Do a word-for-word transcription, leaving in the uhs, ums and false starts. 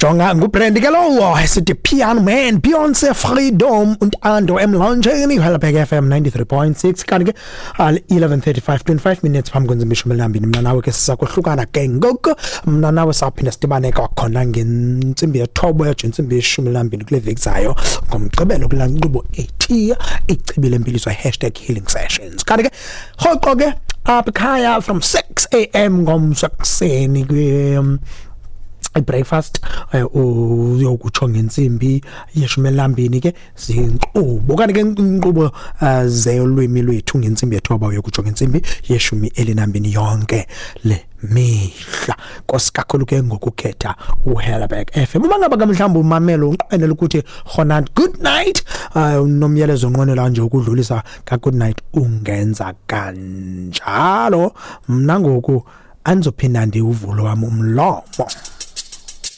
Jonga, nguBrand ke lowo, esithi Piano Man, Beyonce, Freedom, uNtando emlonjeni, Helderberg F M ninety-three point six. Kanti ke eleven thirty-five, twenty-five minutes phambi kwentsimbi ishumi elinambini. Mna nawe ke sizakohlukana ke ngoku. Mna nawe sawuphinda sidibane kwakhona ngentsimbi yethoba yatsho intsimbi yeshumi elinambini kule veki zayo ngoMgqibelo kulaa nkqubo ethi Ichibi Lempiliso, hashtag healing sessions. Kanti ke rhoqo ke apha ekhaya from six a m ngomso ekuseni kwi um, i-breakfast, eh, uyokutsho ngentsimbi yeshumi elinambini ke zinkqubo. Kanti ke inkqubo eh, zelwimi lwethu ngentsimbi yethoba uyokutsho ngentsimbi yeshumi elinambini yonke le mihla. Nkosi kakhulu ke ngokukhetha uHellerberg F M. Uma ngaba ke mhlawumbi umamelo unqwenela ukuthi khona good night, uh, unomyalezo onqwenela nje ukudlulisa ka good night, ungenza kanjalo. Mna ngoku andizophinda ndiwuvule wam umlomo.